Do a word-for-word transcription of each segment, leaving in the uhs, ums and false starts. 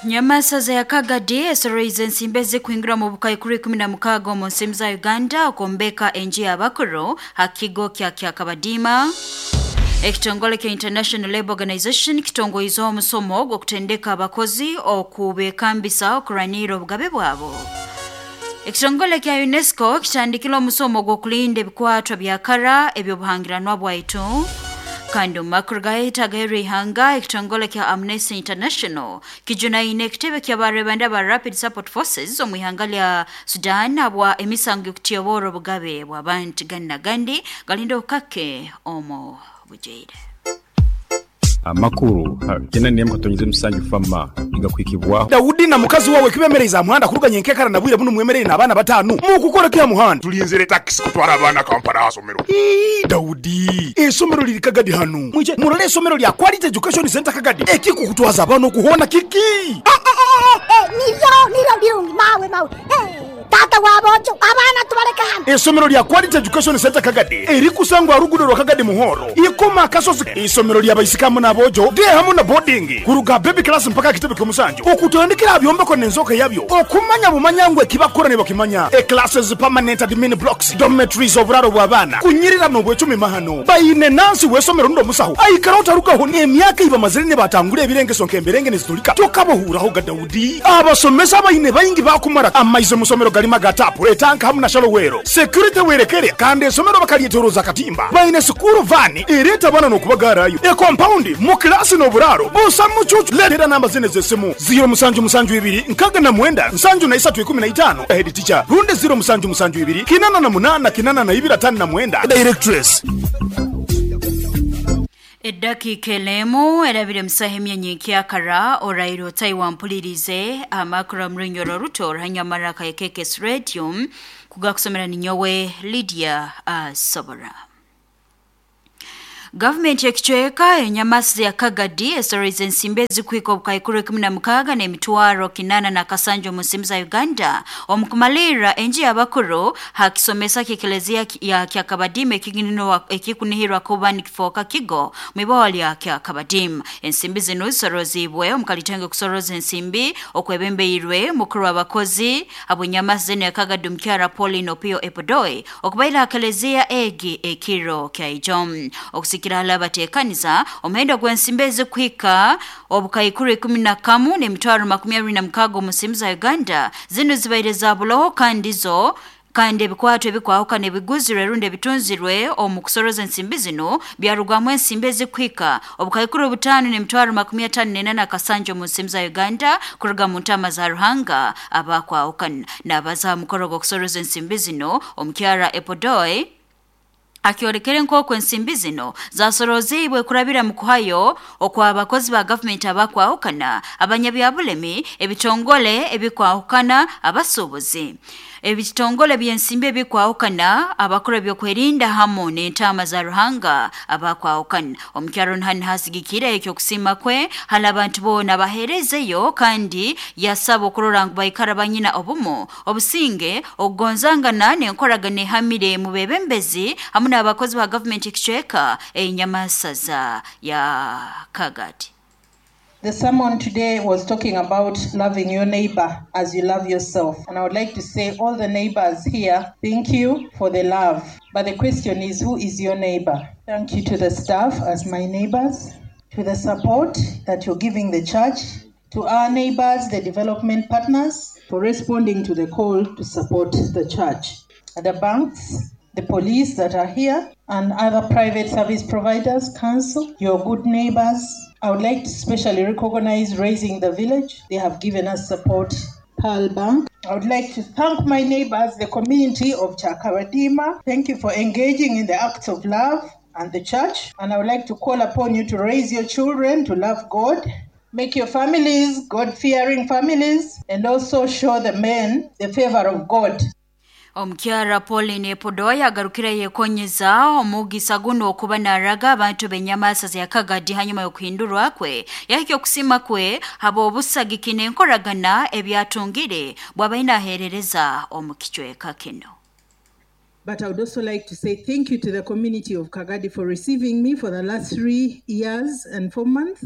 Nyamasaza ya Kagadi esoroize ensimbi ezikuhingura mu bukaikuru ikumi na mukaaga omu nsimu za Uganda okombeka enju y'abakuru ha kigo kya Kyakabadiima. Ekitongole kya International Labour Organization kitongoize omusomo gw'okutendeka abakozi okubekambisa okurwanirra obugabe bwabo. Ekitongole kya UNESCO kitandikire omusomo gw'okulinda ebikwatwa bya kara eby'obuhangiranwa bwaitu. Kandi omu makuru gahita agaheru ihanga, ekitongole kya Amnesty International kijunaine ekitebe ky'abarebanda ba Rapid Support Forces omu ihanga lya Sudan habwa emisango y'okutyobora obugabe bw'abantu. Gandi na gandi galinda obukake omu bujaire. Amakuru kena nemu katonyize musanju fama igakwikibwaho. Dawudi na mukazi wawe kibemereza muhanda kuruganya enkekara na bwire buno mwemerere n'abaana batanu mukukora kya muhanda. Tulinzire taxi kutwara abaana Kampala asomero. Ii, Dawudi, esomero liri Kagadi hano mwije murole esomero lya Quality Education Center Kagadi ekikukutwaza abaana okuhona kiki. Nivyo nivyo birungi mawe mawe. Hey, tata wabojo abaana tubaleka hano. Esomero lya Quality Education Center Kagadi erikusangwa rugudo rwa Kagadi Muhoro ikoma kasozi. Isomero lya baisikamu n'abojo de hamu na boarding kuruga baby class mpaka kitebe ky'omusanju okutandikira byombeko n'enzoka yabyo okumanya bumanyangwe kibakora ne bakimanya. E classes, permanent admin blocks, dormitories, oburaro bw'abaana kunyirira n'obwecumi mahano bayine nansi w'esomero ndo musaho aikara otarugaho n'emyaka iba mazire ne batangura ebirengeso nk'emberenge nezitulika tokabohuraho ga Dawudi. Abasomesa bayine bayingi bakumara amaize musomero galima gatapu etanka hamu na shalowero security werekere kandi esomero bakalyetoroza katimba bayine sukuru vani ereta abana n'okubagarayo e compound mu klasi n'oburaro busa mucucu. Letera namba zine z'essimu ziro musanju musanju ibiri nkaga na mwenda nsanju na isatu ikumi na itano head teacher runde ziro musanju musanju ibiri kinana na munana kinana na ibiri atano na mwenda directress. Eddakiika elemu erabire musaha emyanya ekyakara oraire otayi wampulirize amakuru omurunyoro ruto orahanyamara kayekekes radio kugakusomera ninyowe Lydia Asobora. Gavumenti ekicweka enyamasi ya Kagadi esoroize ensimbi ezikuhika obukaikuru ikumi na mukaaga n'emitwaro kinana na kasanju omu nsimu za Uganda omu kumalirra enju y'abakuru ha kisomesa ky'ekelezia ya Kyakabadiima ekikunihirwa kuba nikifooka kigo mw'iboho lya Kyakabadiima. Ensimbi zinu zisorozibwe omu kalitenge kusoroza ensimbi okwebembeirwe mukuru w'abakozi ab'enyamasi zinu ya Kagadi omukyara Pauline Opio Epodoi okubaira ha kelezia egi ekiro kya ijo. Okusikira batekaniza omuhendo gw'ensimbi ezikuhika obukaikuru ikumi na kamu n'emitwaro makumi abiri na mukaaga omu nsimu za Uganda zinu zibaire za buloho kandi zo kandi ebikwato ebikwahukana ebiguzirwe rundi ebitunzirwe omu kusoroza ensimbi zino byarugwamu ensimbi ezikuhika obukaikuru butaano n'emitwaro makumi ataano n'ena kasanja omu nsimu za Uganda kuruga mu ntama za Ruhanga abakwahukana. N'abaza aha mukoro gw'okusoroza ensimbi zino omukyara Epodoi akyorekere nk'oku ensimbi zino zasoroziibwe kurabira mu kuhayo okw'abakozi ba gavumenti abakwahukana, abanyabyabulemi, ebitongole ebikwahukana, abasuubuzi, ebitongole by'ensimbi ebikwahukana, abakora ebyokwerinda hamu n'entaama za Ruhanga abakwahukana. Omukyaro Nhani hasigikire ekyokusiima kwe hali abantu boona baheerezeyo kandi yasaba okurora ngu baikara banyina obumu, obusinge, okugonzangana n'enkoragana ehamire mu bebembezi hamu n'abakozi ba gavumenti ekicweka enyamasaza ya Kagadi. The sermon today was talking about loving your neighbor as you love yourself. And I would like to say all the neighbors here, thank you for the love. But the question is, who is your neighbor? Thank you to the staff as my neighbors, to the support that you're giving the church, to our neighbors, the development partners, for responding to the call to support the church, the banks, the police that are here, and other private service providers, council, your good neighbors. I would like to specially recognize Raising the Village. They have given us support. Pearl Bank. I would like to thank my neighbors, the community of Chakabadima. Thank you for engaging in the acts of love and the church. And I would like to call upon you to raise your children to love God. Make your families God-fearing families, and also show the men the favor of God. Omukyara Pauline Epodoya agarukire yekonyeza omugisa guno okuba naraga abantu b'enyamasa ya Kagadi hanyuma y'okuhindurwa kwe yahikya okusima kwe haba obusagiki n'enkoragana ebyatungire bw'abaine aheerereza omu kicweka kino. But I would also like to say thank you to the community of Kagadi for receiving me for the last three years and four months.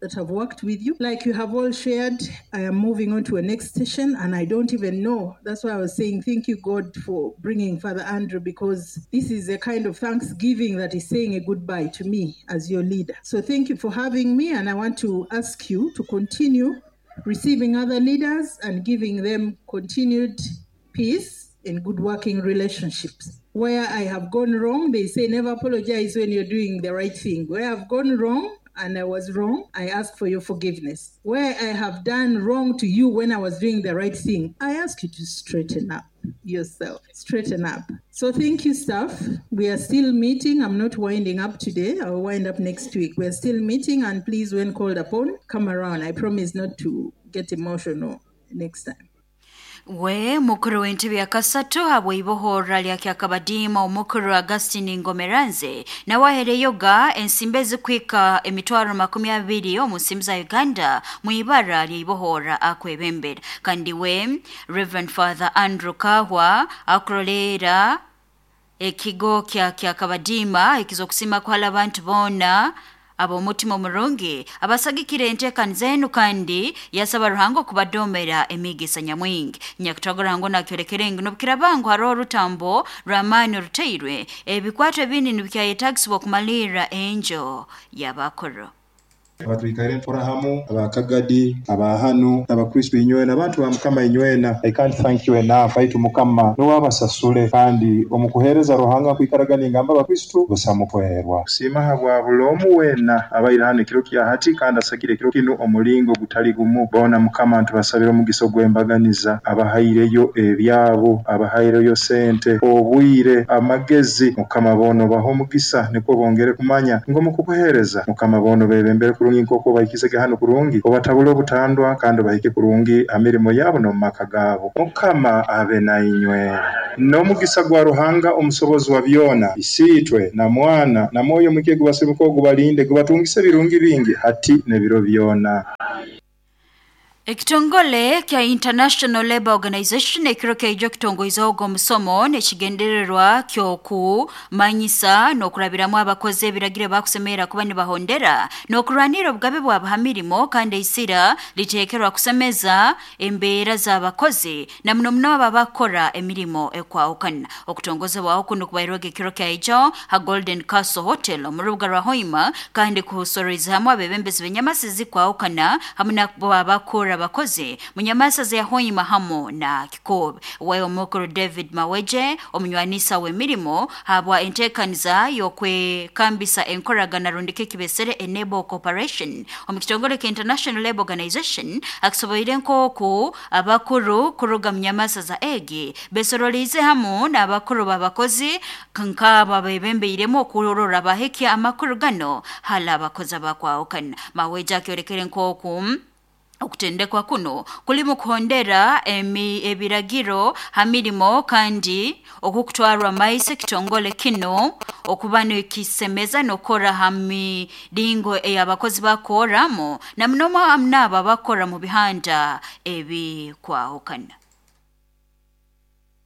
that have worked with you. Like you have all shared, I am moving on to a next station and I don't even know. That's why I was saying thank you, God, for bringing Father Andrew, because this is a kind of thanksgiving that is saying a goodbye to me as your leader. So thank you for having me, and I want to ask you to continue receiving other leaders and giving them continued peace and good working relationships. Where I have gone wrong, they say never apologize when you're doing the right thing. Where I've gone wrong and I was wrong, I ask for your forgiveness. Where I have done wrong to you when I was doing the right thing, I ask you to straighten up yourself. Straighten up. So thank you, staff. We are still meeting. I'm not winding up today. I'll wind up next week. We are still meeting, and please, when called upon, come around. I promise not to get emotional next time. We mukuru w'entebe ya kasatu habw'ibohorra lya Kyakabadiima omukuru Augustine Ngomeranze nawe ahereyoga ensimbi ezikwika emitwaro makumi abiri omu nsimbi za Uganda mu ibara ly'ibohorra akwebembera. Kandi we Reverend Father Andrew Kahwa akurolera ekigo kya Kyakabadiima ekizokusima kuhala abantu boona ab'omutima omurungi abasagikire enteekaniza enu kandi yasaba Ruhanga okubadomera emigisa nyamwingi. Nyakutwaga Ruhanga nakyolekere ngu n'obukirabangu hariho orutambo rw'amaani oruteirwe ebikwato ebindi nibikyayetagisibwa okumalirra enjo y'abakuru. Abatwikaire ntura hamu abakagadi abahanu abakristo inywena abantu ba Mukama inywena. I can't thank you enough. Aitu Mukama n'owabasasule kandi omukuhereza Ruhanga kwikaraga ngamba abakristo busamukwerwa kusiima habwa bulomu wena abaire hano ekiro kya hati kandi asagire ekiro kinu omulingo gutali gumu. Bona Mukama ntubasabira omugiso gw'embaganiza abahaireyo ebyabo, abahaireyo sente, obwire, amagezi. Mukama bono baho omugisa nikwo bongere kumanya ng'omukukuhereza. Mukama bono bebembere kurungi nk'oku bahikisege hano kurungi, obatabule obutandwa kandi bahike kurungi amirimo yabo n'omu maka gaabo. Mukama abe nainywe n'omugisa gwa Ruhanga omusobozi wa byona, Isiitwe na Mwana na Mwoyo Muke gubasibuka ogubalinde gubatungise ebirungi bingi hati n'ebiro byona. Ekitongole kya International Labour Organization ekiro kyaijo kitongoizaho omusomo n'ekigendererwa ky'okumanyisa n'okurabiramu abakozi ebiragiro bakusemera kuba nibahondera n'okurwanira obugabe bwabo ha mirimo, kandi eisira liteekerwa kusemeza embeera z'abakozi na muno muno abo abakora emirimo ekwahukana. Okutongozebwaho kuno kubairwega ekiro kyaijo ha Golden Castle Hotel omu rubuga rwa Hoima, kandi kusororiza hamwe abebembezi b'enyamasi zikwahukana hamwe nabo abakora abakozi munyamasa za Hoima hamo na Kikobe. We omukuru David Maweje omunywanisa w'emirimo habwa enteekaniza y'okwekambisa enkoragana rundike kibesere Enable Corporation omu kitongole kya International Labour Organization akisoboire nk'oku abakuru kuruga munyamasa za egi besorolize hamu n'abakuru b'abakozi nk'aba bebembeiremu okurora bahekya amakuru gano hala abakozi abakwahukana. Maweje akyolekere nk'oku okutendekwa kuno kulimu kuhondera emi ebiragiro ha mirimo kandi okukutwarwa maise kitongole kino okuba nikisemeza n'okora ha miringo ey'abakozi bakoramu na muno n'abo abakora mu bihanda ebikwahukana.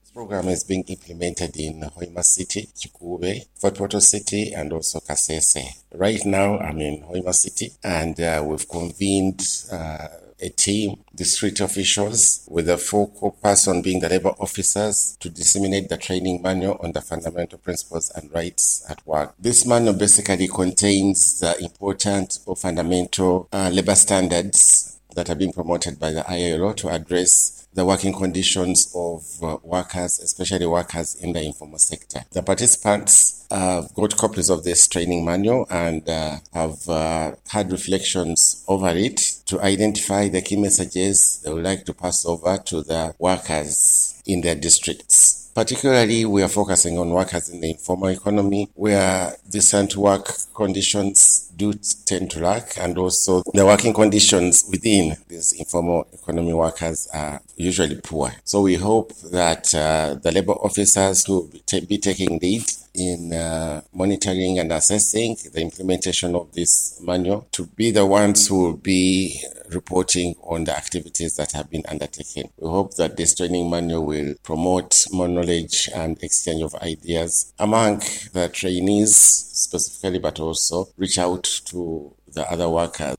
This program is being implemented in Hoima City, Kikuube, Fort Portal City, and also Kasese. Right now, I'm in Hoima City, and uh, we've convened uh, a team, district officials, with the focal person being the labor officers, to disseminate the training manual on the fundamental principles and rights at work. This manual basically contains the important or fundamental uh, labor standards that are being promoted by the I L O to address the working conditions of uh, workers, especially workers in the informal sector. The participants have got copies of this training manual and uh, have uh, had reflections over it to identify the key messages they would like to pass over to the workers in their districts. Particularly, we are focusing on workers in the informal economy, where decent work conditions do tend to lack, and also the working conditions within these informal economy workers are usually poor. So we hope that uh, the labor officers who will be taking lead in uh, monitoring and assessing the implementation of this manual to be the ones who will be reporting on the activities that have been undertaken. We hope that this training manual will promote more knowledge and exchange of ideas among the trainees specifically, but also reach out to the other workers.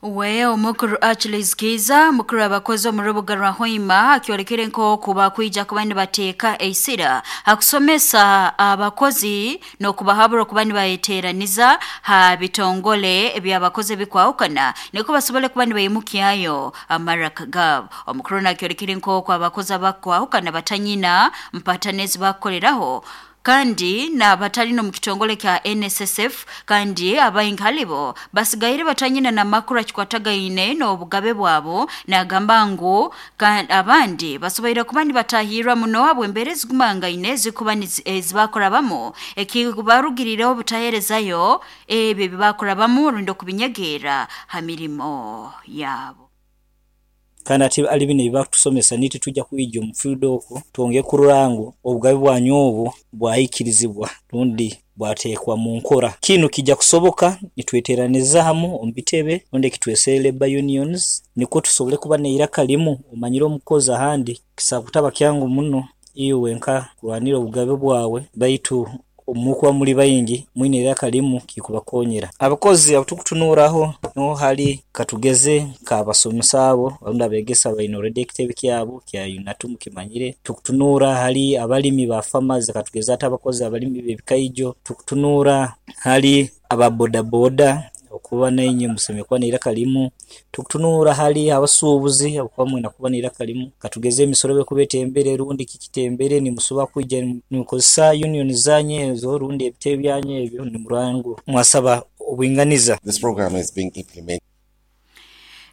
We omukuru Achilles Kiza mukuru abakozi omu rubuga rwa Hoima akyolekere nk'oku bakwija kuba nibateeka eisira hakusomesa abakozi n'okubahabura okuba nibayeteeraniza ha bitongole eby'abakozi ebikwahukana niko basobole kuba nibaimukyayo amaraka gaabo. Omukuru nakyolekere nk'oku abakozi abakwahukana batanyina mpatanezi bakukoleraho kandi n'abatali no mu kitongole kya N S S F kandi abaingi halibo basigaire batanyina na makuru akikwatagaine n'obugabe bwabo nagamba ngu abandi basoboire kuba nibatahirwa muno habw'embeera ezigumangaine zikuba ezibakorabamu ekibarugirireho obutaheerezayo ebyo ebibakorabamu rundi okubinyegeera ha mirimo yabo. Kandi ati ali bino ebibakutusomesa niti tujja kwija omu field okwo twongere kurora ngu obugabe bwanyu obu bwahikirizibwa rundi bwateekwa mu nkora. Kinu kijja kusoboka nitweteraniza hamu omu bitebe rundi ekitwesere labor unions nikwo tusobole kuba neiraka limu. Omanyire omukozi ahandi kisobola kutaba kyangu muno iwe nka kurwanira obugabe bwawe, baitu omukuba muri bayingi mwine iraka limu kikubakonyera. Abakozi abutukutunuraho no hali katugeze kabasomesa abo rundi abegesa baine already ekitebe kyabo kya UNATU mukimanyire. Tukutunura hali abalimi ba farmers katugeze ate abakozi abalimi b'ebikaijo. Tukutunura hali aba boda boda okuba nainye museme kuba neiraka limu. Tukutunura hali abasuubuzi okuba mwina kuba neiraka limu. Katugeze emisoro bekubetembere rundi kikitembere nimusobola kwija nimukozesa union zanye ezo rundi ebitebe byanye ebyo nimurango mwasaba obwinganiza. This program is being implemented.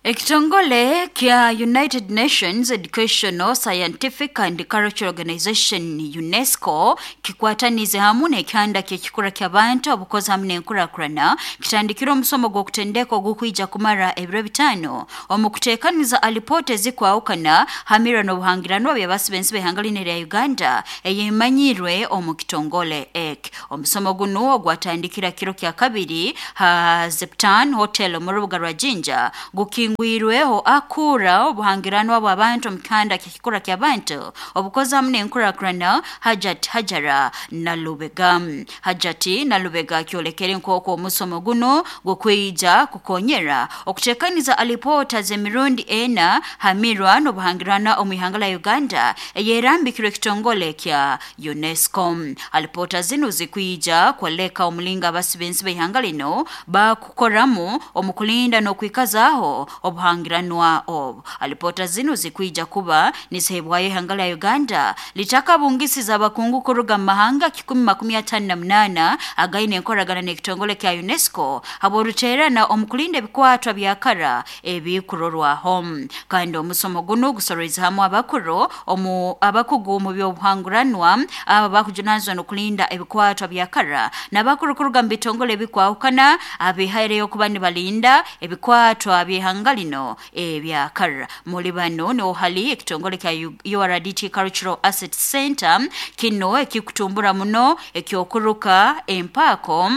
Ekitongole kya United Nations Educational, Scientific and Cultural Organization UNESCO kikwatanize hamu n'ekyanda ky'ekikura ky'abantu obukozi hamu n'enkurakurana kitandikire omusomo gw'okutendeka ogukwija kumara ebiro bitaano omu kuteekaniza alipoota ezikwahukana hamira n'obuhangiranwa by'abasibensi b'ihanga lino erya Uganda eyemanyirwe omu kitongole ek. Omusomo guno ogwatandikira kiro kya kabiri ha Zeptan Hotel omu rubuga rwa Jinja gukingu gwirweho akura obuhangiranwa bw'abantu omu kihanda ky'ekikura ky'abantu obukozi hamu n'enkurakurana Hajat Hajara Nalubega. Hajati Nalubega akyolekere nk'oku omusomo guno gukwija kukonyera okuteekaniza alipoota z'emirundi ena hamirwa n'obuhangirana omu ihanga la Uganda eyerambikirwe ekitongole kya UNESCO. Alipoota zino zikwija kwoleka omulinga abasibensi b'ihanga lino bakukoramu omu kulinda n'okwikazaaho obuhangiranwa obu. Alipoota zino zikwija kuba nisehebwayo ihanga la Uganda litakabungisiza abakungu kuruga mu mahanga kikumi makumi atano na munaana againe enkoragana n'ekitongole kya UNESCO habw'oruteerana omu kulinda ebikwatwa bya kara ebikurorwaho. Kandi omusomo guno gusororize hamu abakuru omu abakugu mu by'obuhanguranwa aba bakujunanizibwa n'okulinda ebikwatwa bya kara n'abakuru kuruga mu bitongole ebikwahukana abihaireyo kuba nibalinda ebikwatwa by'ihanga lino ebyakara. Muri bano niho hali ekitongole kya U R D T Cultural Asset Center kino ekikutumbura muno ekyokuruka empako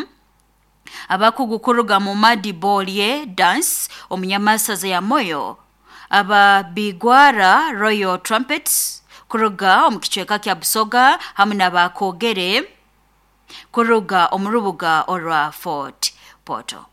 abakugu kuruga mu Madibolye Dance omunyamasaza ya Moyo, aba Bigwara Royal Trumpets kuruga omu kicweka kya Busoga hamu n'abakogere kuruga omu rubuga orwa Fort Portal.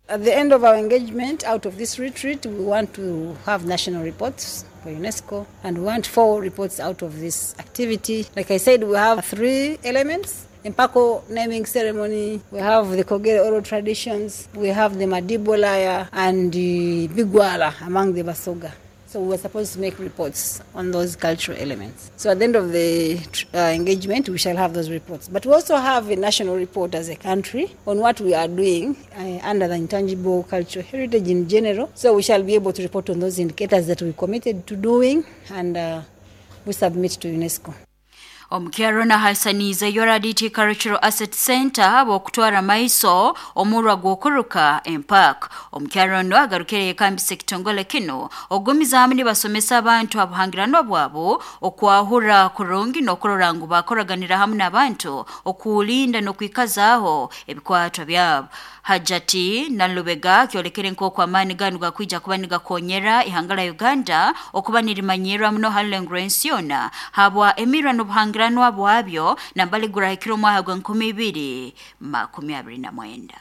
At the end of our engagement, out of this retreat, we want to have national reports for UNESCO, and we want four reports out of this activity. Like I said, we have three elements. Empako naming ceremony, we have the Kogere oral traditions, we have the Madibolaya and the Bigwala among the Basoga. So we were supposed to make reports on those cultural elements. So at the end of the uh, engagement, we shall have those reports. But we also have a national report as a country on what we are doing uh, under the intangible cultural heritage in general. So we shall be able to report on those indicators that we committed to doing, and uh, we submit to UNESCO. Omukyaro na hasanize U R D T Cultural Asset Center abokutwara maiso omurwa gwokuruka empak. Omukyaro ndo agarukire yekambisa ekitongole kino ogumiza hamwe nibasomesa abantu abuhangiranwa bwabo okwahura kurungi n'okurora ngu bakoraganira hamwe n'abantu okulinda n'okwikazaaho ebikwatwa byabo. Hajati Nalubega kyolekere nk'oku amaani ganu gakwija kuba nigakonyera ihanga la Uganda okuba nirimanyirwa muno halengrensi yona habwa emirwa n'obuhangiranwa bwabyo nambali gurahikira omwaka gwa nkumi ibiri makumi abiri na mwenda.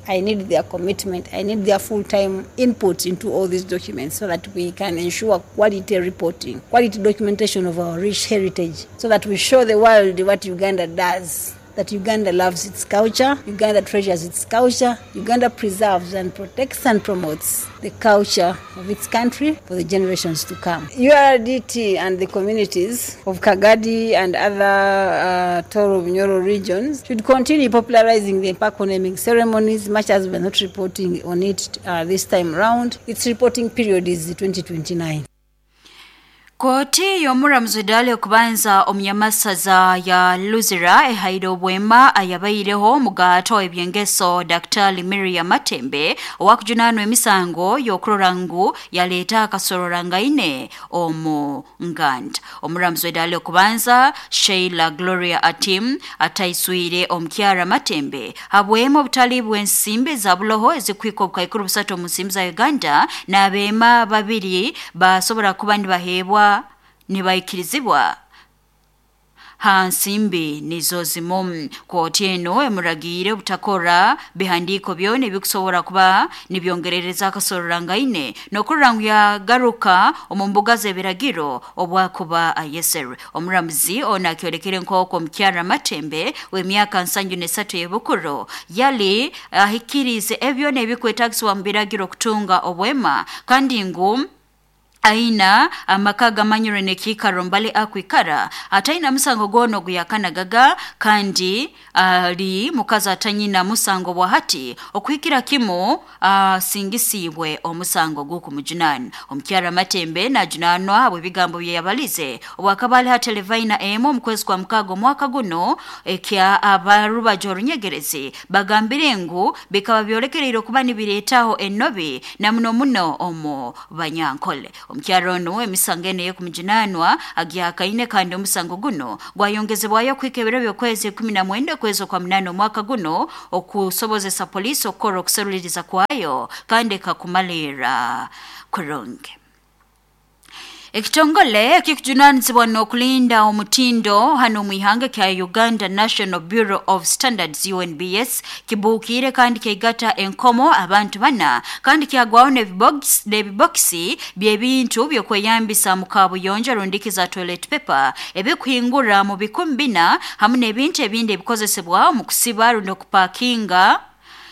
I need their commitment. I need their full-time input into all these documents so that we can ensure quality reporting, quality documentation of our rich heritage, so that we show the world what Uganda does, that Uganda loves its culture, Uganda treasures its culture, Uganda preserves and protects and promotes the culture of its country for the generations to come. U R D T and the communities of Kagadi and other uh, Toro Bunyoro regions should continue popularizing the Empaako naming ceremonies, much as we're not reporting on it uh, this time round. Its reporting period is twenty twenty-nine. Koti y'omuramuzi dali okubanza omunyamasaza ya Luzira ehaire obwema ayabaireho omugato ebyengeso Daktari Miriam Matembe owakujunanwa emisango y'okurora ngu yaleeta akasororangaine omu Nganda. Omuramuzi dali okubanza Sheila Gloria Atim ataiswire omukyara Matembe habwema obutali bw'ensimbi za buloho ezikwika obukaikuru busatu omu nsimbi za Uganda n'abeema babiri basobora kuba nibaheebwa nibaikirizibwa hansimbi nizo zimu. Kooti eno emuragiire obutakora bihandiiko byona ebikusobora kuba nibyongerereza akasororangaine n'okurora ngu yagaruka omu mbuga z'ebiragiro obwakuba ayeserwe. Omuramuzi ono akyolekere nk'oku omukyara Matembe w'emyaka nsanju n'esatu y'ebukuru yali ahikiriize ebyona ebikwetagisibwa mu biragiro okutunga obwema kandi ngu aina amaka gamanyire nekiikaro mbale akwikara ataina musango gono guyakanagaga kandi ali mukazi atanyina musango bwahati okuhikira kimu asingisibwe omusango gukumujunana. Omukyara Matembe najunanwa habwe bigambo bye yabalize obwakabali ha televaina emu omukwezi kwa mukago mwaka guno ekya abarubajo orunyegerezi bagambire ngu bikaba byolekereire okuba nibireetaho ennobi na muno muno omu banyankole. Omukyaro ono emisango ene y'okumujunanwa agyakaine kandi omusango guno gwayongezebwayo okuhika ebiro by'okwezi ikumi na mwenda okwezi okwa munana omwaka guno okusobozesa poliisi okukora okuseruliriza kwayo kandi ekakumalira kurungi. Ekitongole ekikujunanizibwa n'okulinda omutindo hano mwihanga kya Uganda National Bureau of Standards U N B S kibuukire kandi kyaigata enkomo abantu bana kandi kyagwaho n'ebibokisi by'ebintu by'okweyambisa mu kabuyonjo rundikiza toilet paper ebikuhingura mu bikumi bina hamu n'ebintu ebindi ebikozesebwa mu kusiba rundi okupakinga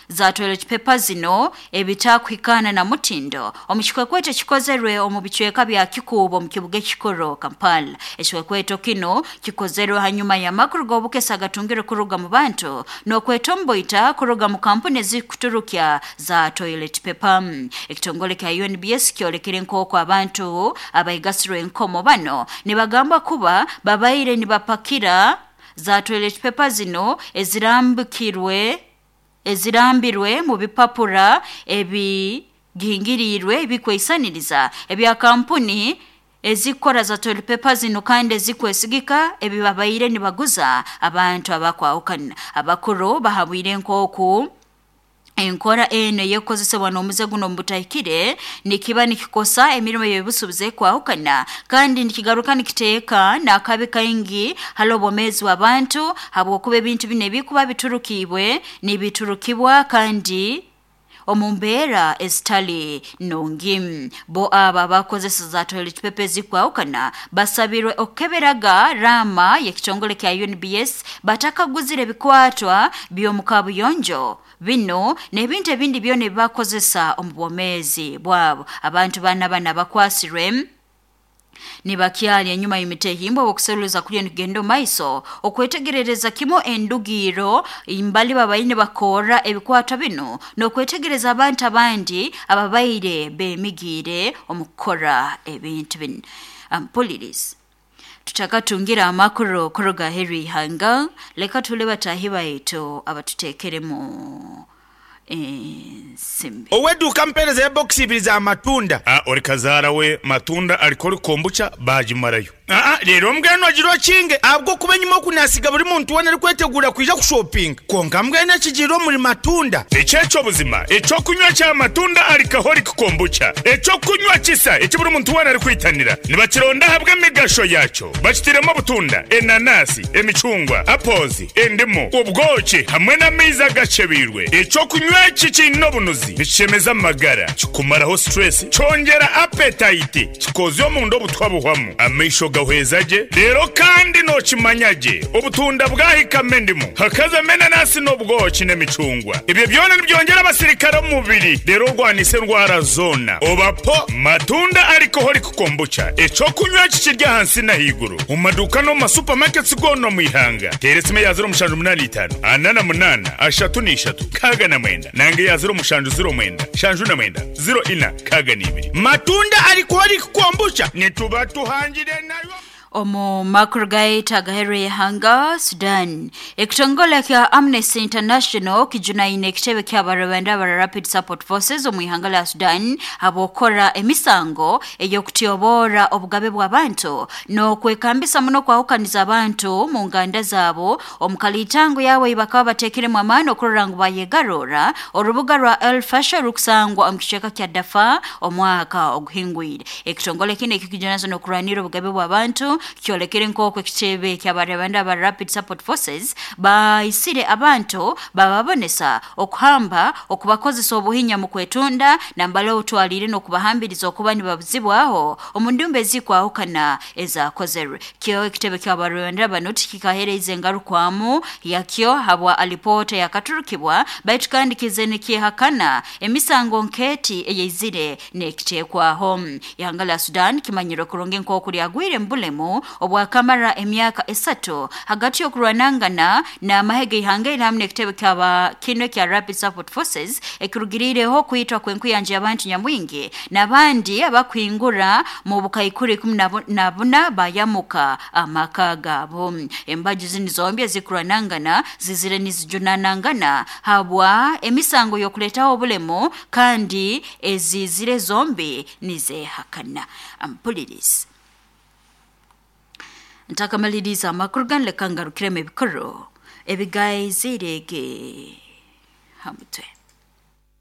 za toilet paper zino ebitakuhikana na mutindo. Omukikwekweto kikozerwe omu bicweka bya Kikuubo mu kibuga ekikuru Kampala. Ekikwekweto kino kikozerwe hanyuma y'amakuru g'obukesa agatungire kuruga mu bantu n'okwetomboita kuruga mu kampuni ezikuturukya za toilet paper. Ekitongole kya U N B S kyolekere nk'oku abantu abayigasirwe enkomo bano nibagamba kuba babaire nibapakira za toilet paper zino ezirambikirwe ezirambirwe mu bipapura ebigihingiriirwe ebikweisaniriza ebya kampuni ezikora za toilet paper zino kandi ezikwesigika ebibabaire nibaguza abantu abakwahukana. Abakuru bahabwire nk'oku enkora eno eyekozesebwa n'omuze guno mubutahikire nikiba nikikosa emirimo y'ebusuubuzi ekwahukana kandi nikigaruka nikiteeka n'akabi kaingi hali obwomeezi bw'abantu habwokuba ebintu bino ebikuba biturukibwe nibiturukibwa kandi omu mbeera ezitali nungi. Bo aba bakozesa za toilet paper ezikwahukana basabirwe okukeberaga rama y'ekitongole kya U N B S batakaguzire ebikwatwa by'omu kabuyonjo bino n'ebintu ebindi byona ebibakozesa omu bwomeezi bwabo. Abantu bana bana bakwasirwe nibakyali enyuma y'emitehimbo okuseruliza kulya nikugenda omu maiso okwetegerereza kimu endugiro mbali babaine bakora ebikwatwa bino n'okwetegereza abantu abandi ababaire bemigiire omu kukora ebintu bino. Ampulirizi tutakatungira amakuru kuruga heri ihanga leka tule batahi baitu abatuteekeremu ensimbi. Oweduka mpereza ya box ibiri za matunda. Ah, ori kazara we matunda alikori kombucha bajimarayo. Ah, ah, rero mbwenu agiro kinge abwo kuba nyuma kunasiga buri muntu wona ari kwetegura kwija kushopping. Konka mbwenu akigiro muri matunda. Echecho buzima, echo kunywa cha matunda alikahori kombucha. Echo kunywa kisa eki buri muntu wona ari kwitanira. Nibakironda habwe emigasho yacho. Bakitiremo butunda, enanasi, emicungwa, apozi, endimu, ubwoki hamwe n'amaizi agacebirwe. Echo kunywa Ekyokunywa eki kiine obunuzi, nikishemeza amagara, kikumaraho stress, kyongera appetite, kikozya omunda obutwa buhwamu, amaisho gahweza gye, rero kandi nokimanya gye obutunda bwahikamo endimu, hakazamo enanasi n'obwoki n'emicungwa. Ebyo byona nibyongera abasirikare omu mubiri, rero orwanisa endwara zona. Obapo Matunda Alcoholic Kombucha, ekyokunywa eki kiri ahansi n'ahaiguru mu maduuka no mu masupamaketi goona omu ihanga. Teera esimu eya ziro mushanju munaana itaano ana na munaana ashatu n'ishatu kaaga na mwenda, nange eya ziro mushanju ziro mwenda shanju na mwenda ziro ina kaaga n'ibiri. Matunda Alcoholic Kombucha nituba tuhangire nayo. Omu makuru gaita agahereye ihanga Sudan, ekitongole kya Amnesty International kijunaine ekitebe ky'abarwanda aba Rapid Support Forces omu ihanga lya Sudan habwokora emisango ey'okutyobora obugabe bw'abantu n'okwekambisa muno kwahukaniza abantu mu nganda zaabo. Omu kalitango yawe bakaba bateekiremu amaani okurora ngu bayegarura orubuga rwa El Fasher rukusangwa omu kicweka kya Darfur omwaka oguhingwire. Ekitongole kino ekikijunanizibwa n'okurwanira obugabe bw'abantu kyolekere nk'oku ekitebe ky'abarwanda aba Rapid Support Forces baisire abantu bababonesa okuhamba, okubakozesa obuhinya mu kwetunda nambala obutwalire n'okubahambiriza okuba nibabuzibwaho omu ndumba ezikwahukana ezakozerwe. Kyo ekitebe ky'abarwanda bano tikikahereza engarukwamu yakyo habwa alipoota yakaturukibwa, baitu kandi kize nikihakana emisango nketi eyeizire n'ekitekwaho. Ihanga lya Sudan kimanyirwe kurungi nk'oku lyagwire mu bulemu obwakamara emyaka esatu hagati y'okurwanangana n'amahege ihanga eri hamwe n'ekitebe kyaba kino kya Rapid Support Forces ekirugirireho kwitwa kw'enkuyanja y'abantu nyamwingi n'abandi abakwingura mu bukaikuru ikumi na buna bayamuka amaka gaabo. Embaju zini zombi ezikurwanangana zizire nizijunanangana habwa emisango y'okuleetaho obulemu kandi ezizire zombi nizehakana. Ampulirizi ntakamaliriza amakuru ganu, leka ngarukiremu ebikuru ebigaizirege ha mutwe.